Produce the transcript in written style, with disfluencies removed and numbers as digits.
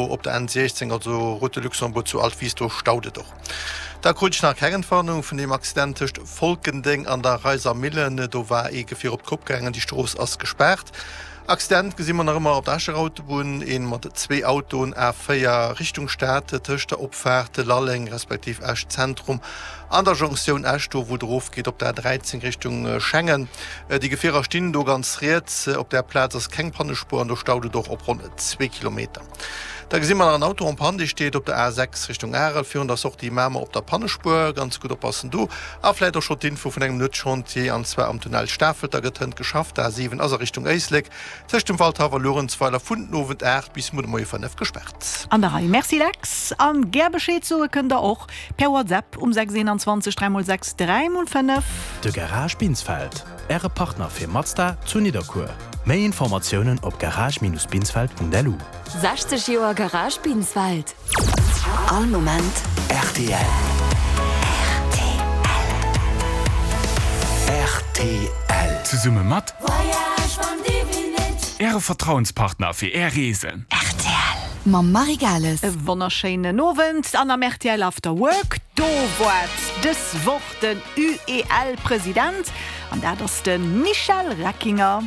Op der N16, also Route de Luxembourg zu Altwis, do staut et och. Da krut ech nach keng Entwarnung vun deem Accident tëscht Folkendeng an der Reiser Millen. Do war ee Gefier op d'Kopp gaangen, déi Strooss ass gespaart. Accident gesi mer nach ëmmer op der Escher Autobunn, een mat zwee Autoen, A4 Richtung Stad, tëscht der Opfaart Lalleng respektiv Esch Zentrum an der Jonktioun Esch, do wou et erofgeet op der A13 Richtung Schengen. Déi Gefierer stinn do ganz riets. Op där Plaz ass keng Pannespuer an do staut et och op ronn zwee Kilometer. Da gesi mer nach en Auto en panne, dee steet op der A6 Richtung Arel virun der Sortie Mamer op der Pannespuer. Ganz gutt oppassen do. A vläit och scho d'Info vun engem Nuetschantier, an zwar am Tunnel Stafelter gëtt hënt geschafft. D'A7 ass a Richtung Éislek tëscht dem Waldhaff a Luerenzweiler vun den Owend 8 bis muer de Moie 5 gespaart. An der Rei. Merci Lex. An gär Bescheed soe kënnt der och per WhatsApp um 6 21 3 x 6 3 x 5. De Garage Binsfeld. Äre Partner fir Mazda zu Nidderkuer. Méi Informatiounen op garage-binsfeld.lu. 60 Joer Garage Binsfeld. All Moment rtl. Rtl. Zesumme mat Äre Vertrauenspartner fir Är Reesen. Rtl. Mam Marie Gales. E wonnerschéinen Owend an am rtl After Work. Do woart dës Woch den UEL-President, an dat ass de Michel Reckinger.